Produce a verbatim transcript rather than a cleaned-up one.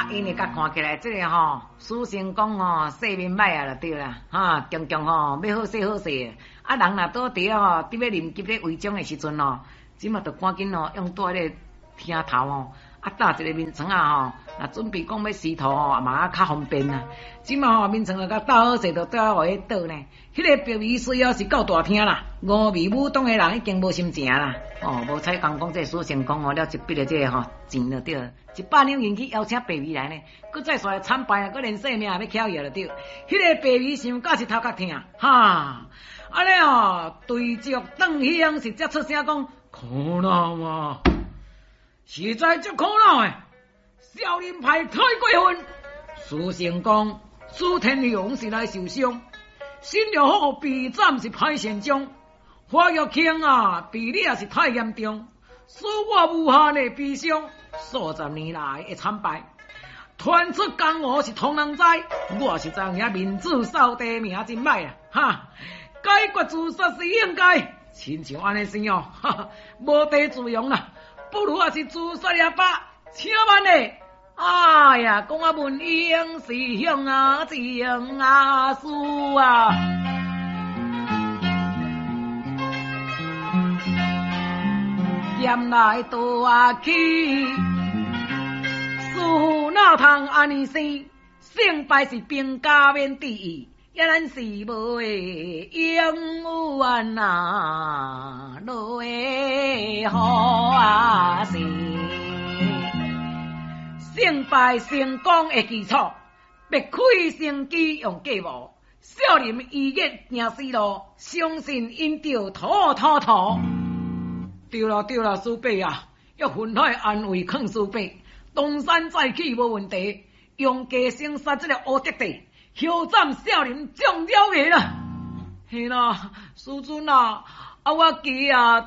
啊，𪜶會共看起來，這个吼，許成功吼，勢面歹啊，就對啦，哈，強強吼，欲好勢好勢，啊，人若倒佇吼，佇欲臨急咧遺囑的時陣吼，這馬就趕緊吼，用蹛彼個廳頭吼，啊，搭一个眠床仔吼，若準備講欲司徒吼，嘛較方便啦。這馬吼眠床就共搭好勢，就倒予伊倒呢。彼个白眉雖哦是夠大聽啦，峨眉武當的人已經無心情啦。哦，無彩講講這許成功吼，了一筆的這个吼錢就對，一百兩銀去邀請白眉來呢，閣再煞來參敗啊，閣連性命也欲翹伊就對。彼个白眉想甲是頭殼疼，哈！按呢哦，對著鄧兄是才出聲講，苦惱啊，實在足苦惱的，少林派太過分。許成功、史天雄是來受傷，新六虎被斬是歹善終，華玉慶啊被掠是太嚴重，使我無限的悲傷，數十年來的慘敗，傳出江湖是通人知，我實在有影面子掃地，名真歹啊！哈，解決自殺是應該，親像按呢生哦，哈，無地自容啦，不如也是自殺也罷，請慢咧。哎呀，講啊文英師兄啊，情啊師啊，劍來倒去，師父哪通按呢生？勝敗是兵家免注意，也咱是無會永遠啊，落會好啊是。勝敗成功的基礎，別開生機用計謀，少林醫術行死路，相信𪜶著妥妥妥。對啦對啦，師伯啊，欲分開安慰勸師伯，東山再起無問題，用家生殺這個烏德帝，休斬少林眾妖怪啦。嘿啦，師尊啊，啊我記啊。